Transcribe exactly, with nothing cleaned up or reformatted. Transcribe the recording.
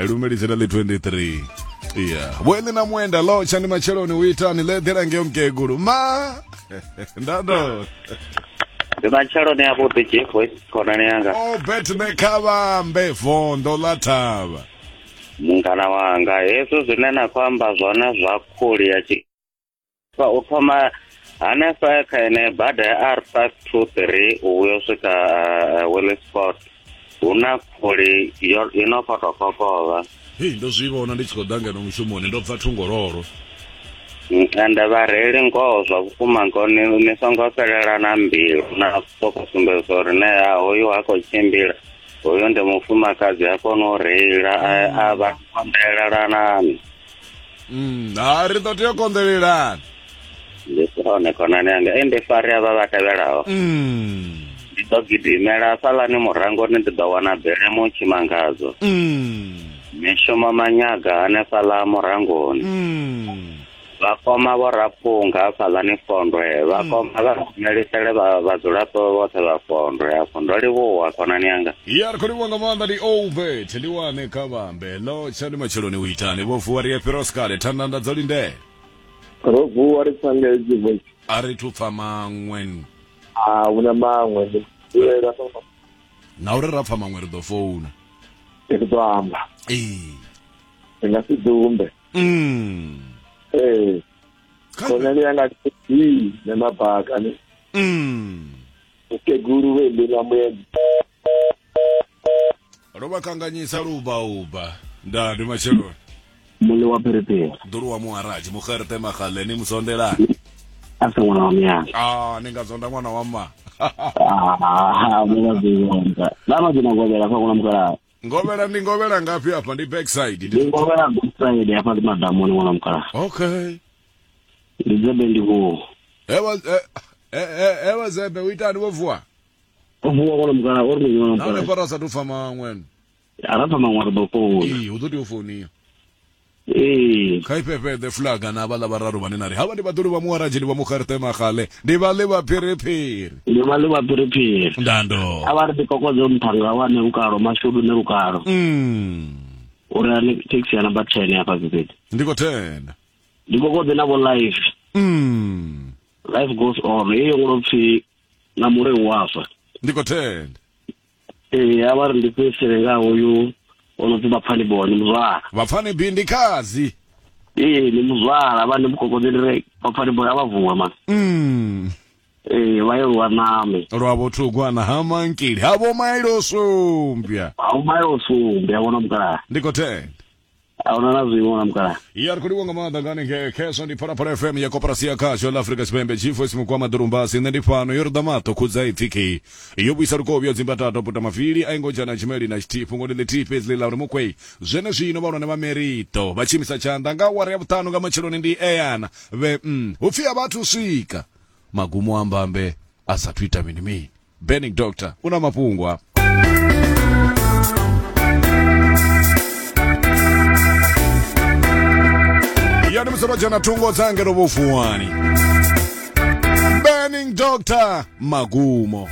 Lumelisela ḽi twenty-three. Yeah. Vho na Mwenda lotsha ndi matsheloni u itani ḽe ḓela ngeo mukegulu. Ma. Ndando. Ndi matsheloni a vhuḓi G Voice khonani yanga. Oh bet ne khavhambe vondo ḽa thavha. Mungana wanga hezwo zwine na khou amba zwone zwa khuli ya tshi u thoma hanefha kha ene bada ya R five two three u yo swika uh, Willisport hu na khuli yo ino khou tou kokovha. Hei ndo zwi vhona ndi tshi khou ḓa ngeno mushumoni ndo bva thungololo. Ende vhareili ngoho zwa vhukuma ngoho ni, ni songo fhelela na mbilu na sokou sumbedza uri ne hoyu ha khou tshimbila hoyu ndi mufumakadzi ha koni u reila a vha konḓelelanani. Mm, ha ri ḓo tea u konḓelelana. Ndi hone khonani yanga e ndi fari avha vha tevhelaho. Mm. Ndi ḓo gidimela hafhaḽani murangoni ndi ḓo wana bele mutshimangadzo. Mm. Mishumo manyaga hanefhaḽa murangoni. Mm. Vhakoma vho Raphunga hafhaḽani Fondwe vhakoma vha rumelisele vha vhadzulapo vhoṱhe vha Fondwe afho. Ndo livhuwa khonani yanga. Ya ri khou livhuwa nga maanḓa ndi Obet ndi wane kha vhambe lotsha ndi matsheloni u itani vho vuwa ri fhiroskale thandanda dzo lindela. Ro vuwa ri pfa G Voice. A ri thu pfa maṅwe. A huna maṅwe ndi dzulela na uri ra pfa maṅwe ri ḓo founa. Ri ḓo amba. Ee. Ri nga si dumbe. Mm. Ee. Khonani yanga ndi na mabaka ne. Mm. Ukeguru we ndi na muedzi. Ro vha kanganyisa luba uba. Nda ndi matsheloni. Muḽi wa phiriphiri. Ḓulu wa muharaji mukherete magaleni musondelani. A si ṅwana wa miyanga. Ah, ni nga zonda ṅwana wa mma. Ah, mu vha ḓi na madzina ngovhela kha ṅwana mukalaha. Ngovhela ndi ngovhela ngafhi afha ndi backside. Ndi ngovhela backside afha ndi madamoni ṅwana mukalaha. Okay. Ndi dzebe ndi vho. Ewa eh ewa zebe u itani vho vuwa? O vuwa ṅwana mukalaha ori ndi ṅwana mukalaha. Na fara sa tu pfa maṅwe. Ara pfa maṅwe ri ḓo founa. Ee, hu ḓo tea u founiwa. Ee. Kha ifhefhe the flag na vhaḽa vhararu vhane na ri havha ndi vhaḓulu vha muharaji ndi vha mukherete magale ndi vhaḽi vha phiriphiri. Ndi vhaḽi vha phiriphiri. Ndando. A vha ri ḓikokodze muthanga wane lukalo mashudu ne lukalo. Mm. Uri ani taxi ya number ten hafha Bibedi. Ndi khou tenda. Ndi kokodze na vho life. Mm. Life goes on. Heyo ngo pfi na mure wa fa. Ndi khou tenda. Ee, a vha ri ndi fhedzisele nga hoyu ono pfi Vhapfani bone muzwala. Vhapfani B ndi khazi. Ee, ndi muzwala vha ndi mukokodze ndi ri Vhapfani bone a vha vuwa man. Mm. Ee, vha ye lwa name. Lwa vhothugwana ha mankili ha vho mailo sumbya. Ha vho mailo sumbya vhona mukalaha. Ndi khou tenda. A huna na zwiṅwe na mukalaha. Ya ri khou livhuwa nga maanḓa ngani nge khezwo ndi Phalaphala F M ya koporasi ya khasho ḽa Afrika Tshipembe G Voice Mukwama Ḓurumbasi nṋe ndi fhano yo ri ḓa maṱo khudza ipfi khe yo vhuisa lukovhi yo dzimbatata puta mavili a ingo dzhena tshimeli na tshithihi fhungo ndi ḽithihi fhedzi ḽi ḽa uri mukwei zwenezwino vhahulwane vha Merito vha tshimisa tshanḓa nga awara ya vhuṱanu nga matsheloni ndi eyana vhe mm, hu pfi a vhathu swika magumo a mbambe a sathu ita mini mini. Burning Doctor una mafhungo hafha. Yani musoro jana thungo dzange ro vhofuwani. Burning Doctor magumo.